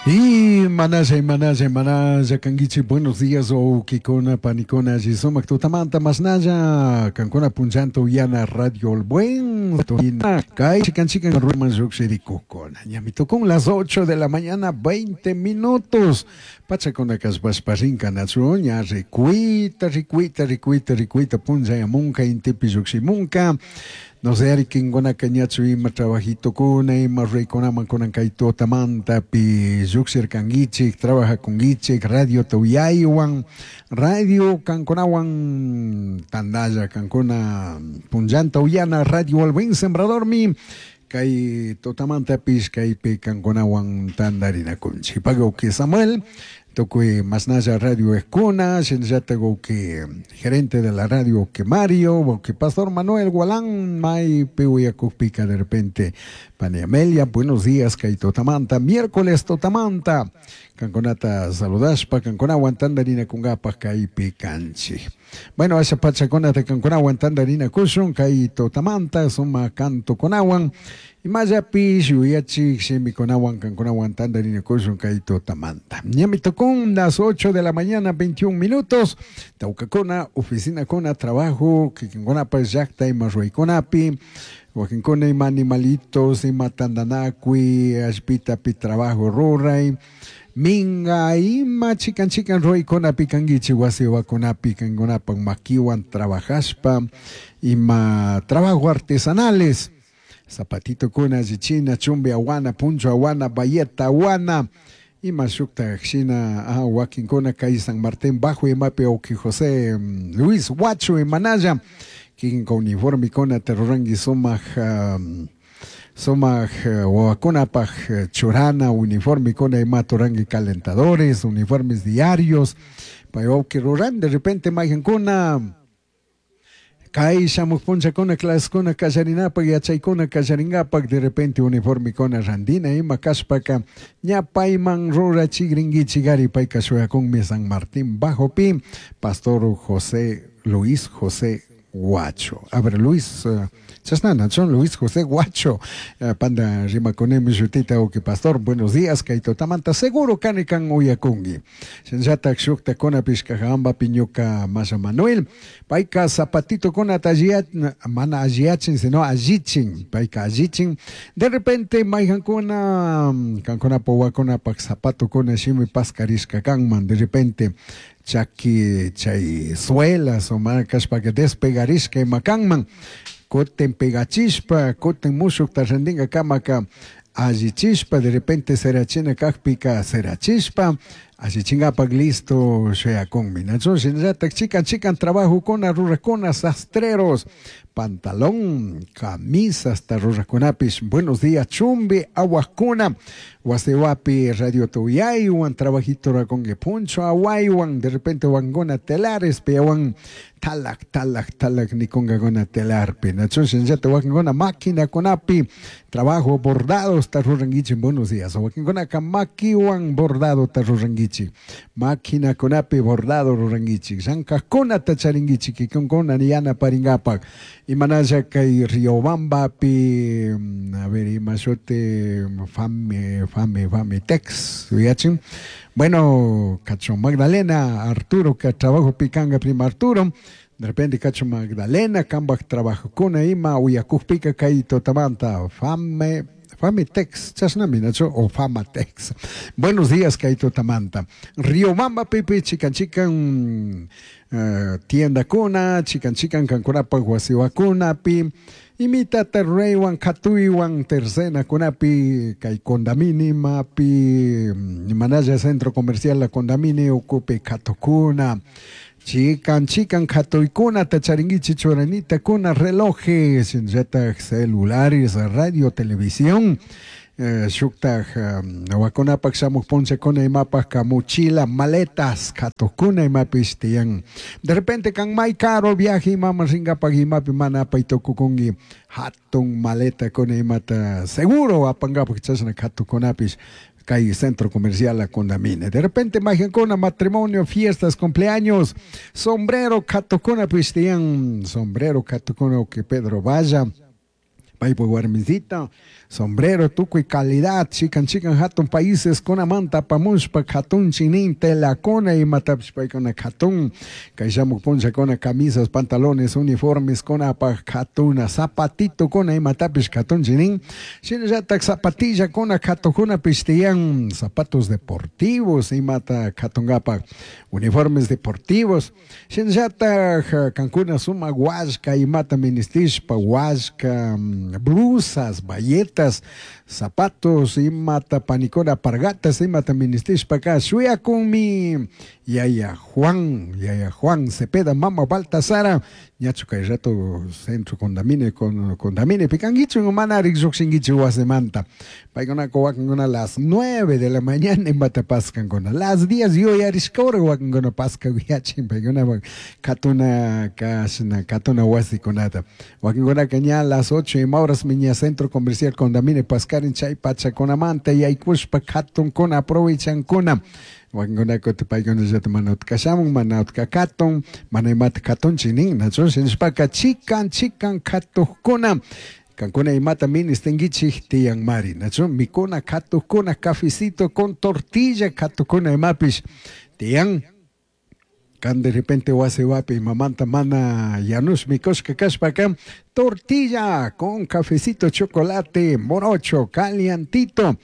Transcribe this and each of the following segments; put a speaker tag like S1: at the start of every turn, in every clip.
S1: Y manalla, manalla, manalla, kanguichi, buenos días, wawkikuna, panikuna, alli sumak tutamanta, mashnalla, kankuna punllanta uyana Radio El Buen, kay chikan chikan ruman llukshirikukuna. Ñami tukun las 8 de la mañana, 20 minutos. Pachakuna kashpashpa rinka nachu, ña rikuita, rikuita, rikuita, rikuita, punllayamunka, intipi llukshimunka. No sé, ari kinkunaka ñachu ima trabajitokuna, ima ruraykunaman kunan kay tutamantapi llukshirkankichik, trabajakunkichik, radiota uyaywan, radio kankunawan tandalla kankuna punllanta uyana Radio El Buen Sembradormi kay tutamantapish kaypi kankunawan tandarinakunchik. Pagawki Samuel, tukuy masnalla radio ejkuna, shinallatak wawki gerente de la radio wawki Mario, wawki Pastor Manuel Gualán, maypi uyakukpika de repente pani Amelia, buenos días kay tutamanta, miércoles tutamanta, kankunata saludashpa, kankunawan tandarinakunkapak kaypi kanchik. Bueno, asha pachakunata kankunawan tandarinakushun kay tutamanta, sumak cantokunawan, imallapish yuyachik shimikunawan kankunawan tandarinakushun kay tutamanta. Ñami tukun las 8 de la mañana, 21 minutos, tawkakuna, oficinakuna, trabajo, kikinkunapash llakta ima ruraykunapi, wakinkuna ima animalitos, ima tandanakuy, allpitapi trabajo ruray, minga ima chikan chikan ruraykunapi kankichik wasi wawakunapi kankunapak makiwan trabajashpa, ima trabajo artesanales, zapatitokuna allichina, chumbi awana, puncho awana, bayeta awana, ima shuktak shina wakinkuna kay San Martín Bajo imapi wawki José Luis Huacho imanalla, kikinka uniformikuna ruranki sumak sumak wawakunapak churana uniformikuna imata ruranki calentadores, uniformes diarios, pay wawki ruran de repente maykankuna kay shamuk punllakuna clasekuna kallarinapak yachaykuna kallarinkapak de repente uniformikuna randina ima kashpaka ña payman rurachikrinkichik ari payka shuyakunmi San Martín Bajopi Pastor José Luis José Guacho. A ver, Luis, chashnana, Luis José Guacho, panda rimakunimi shutita wawki pastor, buenos días, kay tutamanta seguro kani kan uyakunki. Shinallatak shuktakunapish Cajabambapi ñuka Masha Manuel, payka zapatitokunata mana alliyachin, sino allichin, payka allichin. De repente mayjankuna, kankunapak wawakunapak zapatokuna shimi paskarishka kanman, de repente chaki chay suelas o mana kashpaka despegarishka ima kanman, kutin pegachishpa, kutin mushukta randinkakamaka allichishpa, de repente serachina kakpika serachishpa, allichinkapak listo shayakunmi. Nachu shinallatak chikan chikan trabajokuna rurakuna sastreros, pantalón, camisas ta rurakunapish. Buenos días, chumbi awakuna, wasiwapi radio tuyaywan, trabajito rakonki puncho awaywan, de repente wanguna telares, piawan talak, talak, talak nikunkakuna telarpi. Nachu shinallatak wakinkuna maquinakunapi, trabajo bordados ta rurankichik, buenos días. Wakinkunaka makiwan bordado ta rurankichik, maquinakunapi bordado rurankichik, llankajkunata charinkichik, kikinkuna yanaparinkapak. Imanalla kay Riobambapi, a ver, ima shuti, fame, fame, fame, tex, yachin. Bueno, Cacho Magdalena, Arturo, que trabajo picanga prima Arturo. De repente Cacho Magdalena, kambak trabajokuna ima, uyakukpika kay tutamanta, fame, Famitex, chashnami, nacho, o Famatex. Buenos días, kay tutamanta. Riobamba, pipi, chikan, chikan, tienda kuna, chikan, chikan, kankunapak wasiwakunapi, imitata reywan, katuiwan, tercena kunapi, kay Condamini mapi, manaya centro comercial la Condamini, ocupe katokuna. Chikan, chikan, katuikuna, tacharinguichi, churanita, kuna, relojes, shinllatak celulares, radio, televisión, shuktak, wakunapak shamuk punchakuna imapak mochila, maletas, katokuna imapish tiyan. De repente kan may caro viaje imama ringapak imapi mana apay tukukunki hatun maleta kuna imata seguro apangapak chashna katukunapish kay centro comercial La Condamine. De repente majankuna matrimonio, fiestas, cumpleaños, sombrero katokuna pistian, sombrero katokuna que Pedro vaya. Paypa warmisita, sombrero tukuy calidad, chikan chikan hatun países kunamanta apamushpa katunchin nin telakuna imatapish paykuna katun, kay shamuk punllakuna camisas, pantalones, uniformes kunapaj katuna, zapatitokuna imatapish katunchin nin, shinallatak zapatillakuna katukunapish tiyan, zapatos deportivos imata katunkapak, uniformes deportivos, shinallatak kankuna sumak wallka imata ministishpa, wallka, blusas, bayetas, zapatos, imata panikuna pargatas, imata ministishpaka shuyakunmi yaya Juan Cepeda, mama Baltasara, ñachu kay rato centro Condamine, Condamine pikankichu mana rik llukshinkichu wasimanta, paykunaka wakinkuna las 9 de la mañana imata paskankuna, las 10 yuyarishkawra wakinkuna paskakuyachin paykunapak katuna kashna katuna wasikunata, wakinkunaka ña las 8 ima horasmi ña centro comercial Condamine paskarin chay pachakunamanta yaykushpa katunkuna aprovechankuna, wakinkunaka paykunallata mana utkashamun, mana utka katun, mana imata katunchik nin, nachu shinashpaka chikan chikan katukkuna, kankuna imata ministinkichik tiyanmari, nachu mikuna katukkuna cafecito con tortilla katukuna imapish tiyan. Kan de repente wasi wapi mamanta mana yanush mikushka kashpaka tortilla con cafecito, chocolate, morocho, calientito.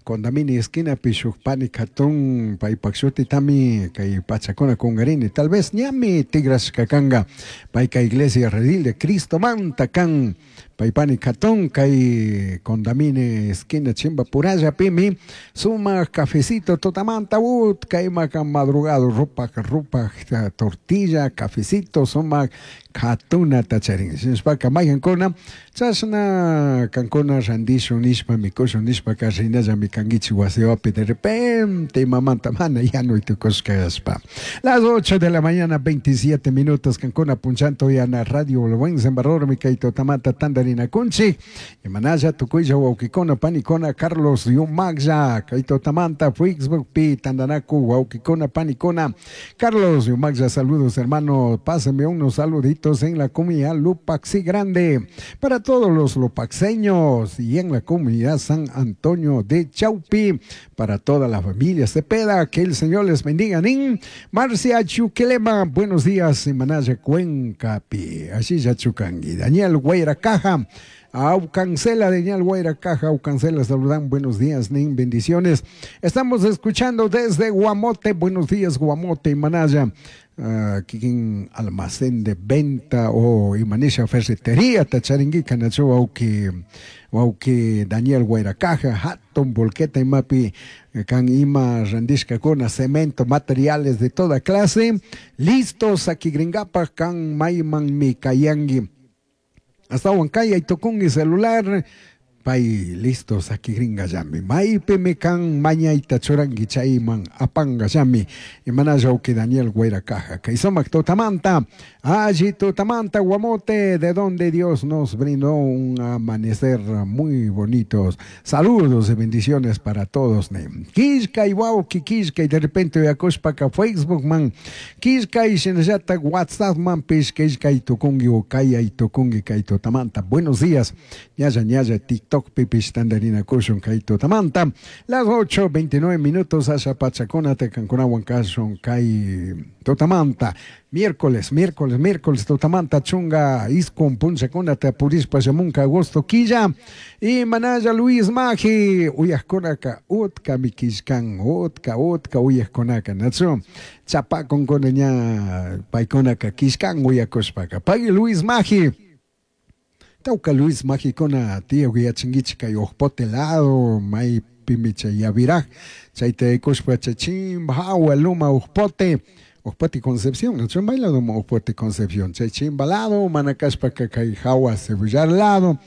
S1: Condamini esquina shuk pani katun paypak shutitami kay pachakuna kungarini tal vez ñami tigrashka kanga payka iglesia redil de Cristo manta kan paypani katun kay Condamine esquina chimba puralla pimi sumak cafecito tutamanta utka imaka madrugado rupak rupak tortilla cafecito sumak katunata charin shinashpaka maykankuna chashna kankuna randishun nishpa mikushun nishpaka rinallami kankichik wasiwapi de repente mamanta mana yanuy tukushka kashpa. Las 8 de la mañana 27 minutos kankuna punchanto yana radio Buen Salvador kay tutamanta tandarinakunchik imanalla tukuylla wawkikuna panikuna Carlos Yumaglla kay tutamanta Facebook pi tandanaku wawkikuna panikuna Carlos Yumaglla, saludos hermano, pásame unos saluditos en la comunidad Lupaxi Grande para todos los lupaxeños y en la comunidad San Antonio de Chaupi, para toda la familia Cepeda, que el Señor les bendiga. Nin Marcia Chuquelema, buenos días, Manaya Cuenca pi, así ya Chucangui. Daniel Guaira Caja, Aucancela, Daniel Guaira Caja, Aucancela, saludan, buenos días, Nin, bendiciones. Estamos escuchando desde Guamote, buenos días, Guamote, Manaya. Kikin almacén de venta o imanisha ferretería tacharinguica nacho wauki Daniel Guairacaja hatun volqueta imapi kan ima randishka kuna cemento materiales de toda clase listos aquí gringapa kan mayman mi kayangi hasta Huancaya y tokungi celular pay listos aquí gringa yami maypi mi kan mañayta churangi chayman apanga yami imanalla uki Daniel Guairacaja kay sumak tutamanta allí tutamanta Guamote, de donde Dios nos brindó un amanecer muy bonitos. Saludos y bendiciones para todos. Kishka y wauki kishka y de repente yakushpaka Facebook man kishka y shinallata WhatsApp man pish kishka y tukungi o kaya y tukungi kay tutamanta. Buenos días, ñalla ñalla TikTok pipish tandarina kushun kay tutamanta. Las 8:29 minutos asha pachakuna te kankunawan kashun kay tutamanta. Miércoles, miércoles, miércoles, tutamanta chunga, iskun punchakuna te apurispa shamunka agosto quilla. Y manaya Luis Maji, uyaskonaka, utka mikishkan, utka, utka, uyaskonaka, nachu. Chapakon ña, paykonaka, kishkan, uyakoshpaka. Pay Luis Maji. Tauka Luis Maji kona, tío yachingichi kay ojpote lado, may pimicha yaviraj, chayte ikushpa chachimba, hawa luma ojpote. Ojpote Concepción, no son bailado Ojpote Concepción, chachimba lado, manacashpa kay hawa cebollar lado,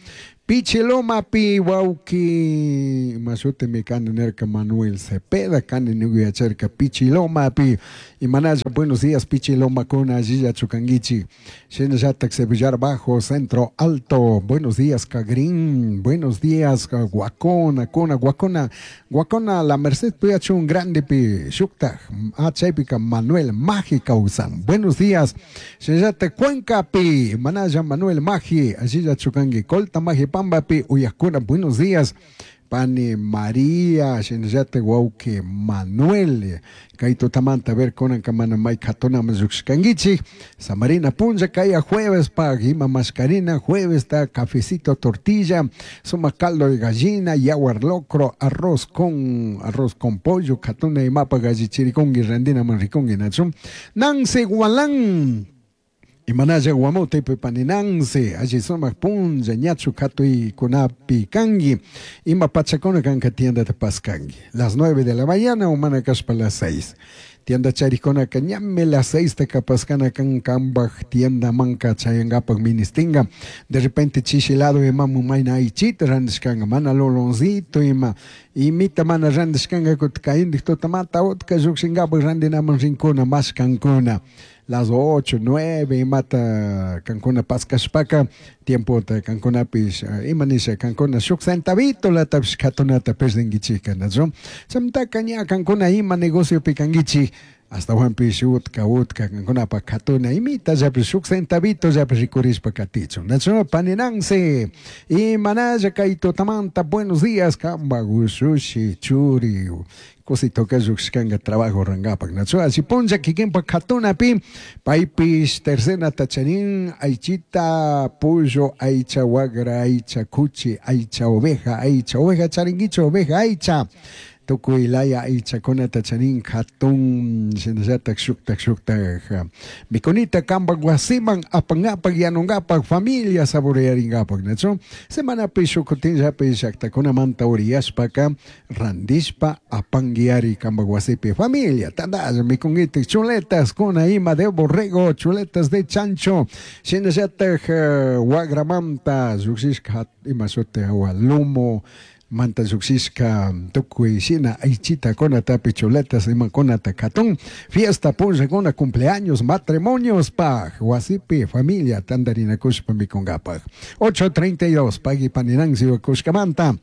S1: Picheloma pi wauki masute mi nerka Manuel Cepeda kan nuguyacharka Pichiloma pi y manaya buenos días Pichiloma con allí chucanguichi Shenyatak Cebollar Bajo Centro Alto, buenos días Cagrín, buenos días Guacona, Cona, Guacona, Guacona la Merced Puyachun grande pi Shukta Achaypica Manuel Maji Causan, buenos días Shenyate Cuenca pi manaya Manuel Maji allí chucangui Colta Maji Pampa. Huancapambapi uyajkuna, buenos días. Pani María, shinallata wawqi Manuel, kay tutamanta ver kunanka mana may katunaman lluqshkankichik, samarina punlla kaya jueves pag ima mascarina, jueves ta cafecito, tortilla, suma caldo de gallina, yawar locro, arroz con pollo, katuna imapa gallichirikunki, randinaman rikunki, nachu. Nancy Gualán, Imanalla guamote pani Nancy, alli sumak punlla, ñachu katuykunapi kanki, ima pachakuna kanka tiendata paskanki. Las 9 de la mañana o mana kashpa las 6. Tienda charikunaka ñami las 6 ta paskana kan kambaj tienda manka chayangapak ministinga. De repente chishi lado imamu mayna aychita randishkanga, mana loloncito ima, imita mana randishkanga kutka kayindik tutamanta utka llukshingapak randinaman rinkuna mashkankuna. Las 8, 9, imata kankuna paskashpaka, tiempota kankunapish, ima nisha kankuna shuk centavito latapish katunata perdinkichika, nachu? Chamtaka ña kankuna ima negociopi kankichik, hasta utka utka kankunapa katuna imita llapish shuk centavito llapish rikurishpa katichun, nachu? Pani Nancy, imanalla kay tutamanta, buenos días, kamba ushushi churi, cosito lluqshkanka trabajo rangapak, nachu? Así punlla kikinpa katunapi, paypish tercena tacharin, aychita, pollo, aycha wagra, aycha kuchi, aycha oveja charinkichu, oveja aycha, tukuy laya aychakunata charin katun, shinallatak shuktak shuktak mikunita kampak wasiman apangapak yanungapak familia saborearingapak, nachu? Semanapi shuk kutinllapi llaktakunamanta uriyashpaka randishpa apanguiari kampak wasipi familia tandalla mikunkitik chuletas kuna ima de borrego, chuletas de chancho, shinallatak wagramanta llukshishka ima shuti awa lomo manta llukshishka tukuy shina aychita kunatapi chuletas imakunata katun fiesta punllakuna cumpleaños matrimonios paj wasipi familia tandarinakushpa mikungapak. 8:32, pagui pani Nancy kushkamanta.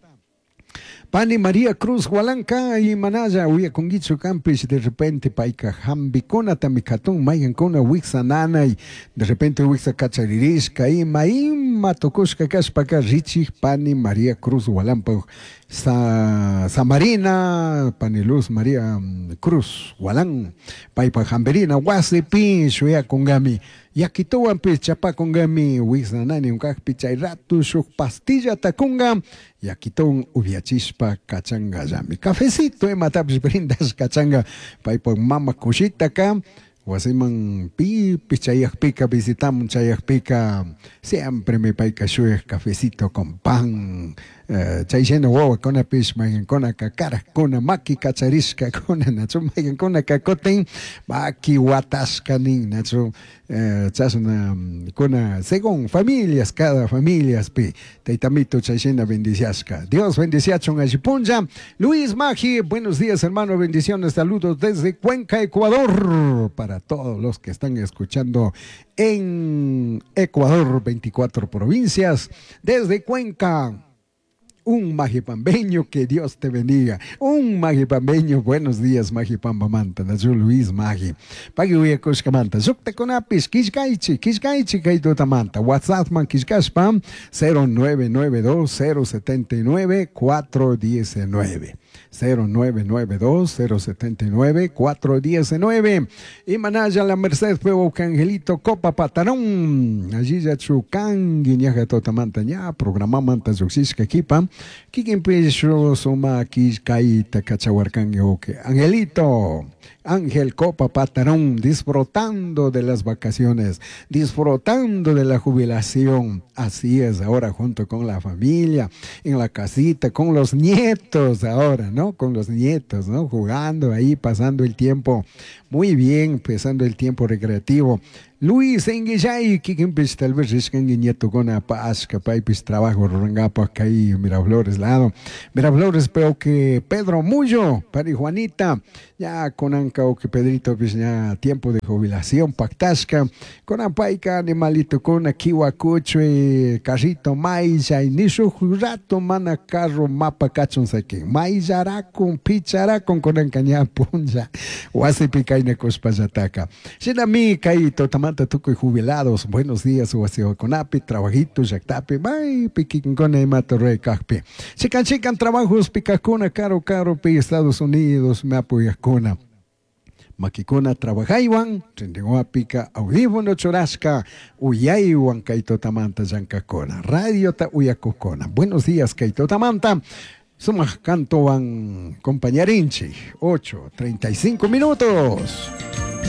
S1: Pani María Cruz Hualanca y Manaya, uyakunkichu kampish, de repente payka hambikunata mikatun, maykankuna wiksa nanay, de repente wiksa kacharirishka, ima ima tukushka kashpaka richik pani María Cruz Hualampa, Sa, Samarina, pani Luz María Cruz Hualán, paypa hambirina wasipi shuyakungami, yakituwanpish chapakungami, wiksa nanay unkakpi chay ratu shuk pastillata kunga, yakituwan upiachishpa kachangallami. Cafecito imatapish brindash kachanga, paypa mama kushitaka, wasiman pipi chayakpika, visitamun chayakpika, siempre me payka shuyak cafecito con pan, chay shina wawakunapish maykankunaka karakuna maki kacharishkakuna, nachu maykankunaka kutin maki watashka nin, nachu chashna kuna según familias, cada familiaspi taytamito chay shina bendiciashka. Dios bendiciachun alli punlla. Luis Magi, buenos días hermano, bendiciones, saludos desde Cuenca, Ecuador, para todos los que están escuchando en Ecuador, 24 provincias, desde Cuenca. Un magipambeño, que Dios te bendiga. Un magipambeño, buenos días, Magipamba manta, nachu Luis Magi. Pagui uyakushkamanta, shuktakunapis, kishkaychi, kishkaychi kay tutamanta. WhatsApp man kishkashpa, 0992 079 419. 0992 079 419. Y manaya la Merced Pueblo Angelito Copa Patarón. Allí ya chukangi ñaja totamanta ña programa manta lluqshishka kipa. Kikinpish suma kishkayta kachawarkangi oke. Angelito, Ángel Copa Patarón, disfrutando de las vacaciones, disfrutando de la jubilación. Así es, ahora junto con la familia, en la casita, con los nietos ahora, ¿no? Con los nietos, ¿no? Jugando ahí, pasando el tiempo muy bien, pasando el tiempo recreativo. Luis Enguillay, kikinpish tal vez rishkanki nietukuna pashka, paypish trabajo rurangapak kay Miraflores lado. Miraflores, pero que Pedro Mullo, pani Juanita, ya kunanka que Pedrito pish ya tiempo de jubilación pactashka, kunan payka animalito kuna kiwa kuchui, carrito maylla, y ni shuk rato mana carro mapa kachun sakin, mayllarakun, picharakun kunanka ña punlla, wasipi. Chaynakushpallataka. Shinami kay tutamanta tukuy jubilados, buenos días wasiwakunapi, trabajito llaktapi, maypi kikinkuna imata ruray kakpi. Chikan chikan trabajos kajkuna karu karupi Estados Unidos apoyajkuna. Makikuna trabajaywan, rinrinwapika audífono churashka, uyaywan kay tutamanta llankakuna, radiota uyakukuna. Buenos días kay tutamanta. Sumaq cantowan compañarinchik, 8:35 minutos.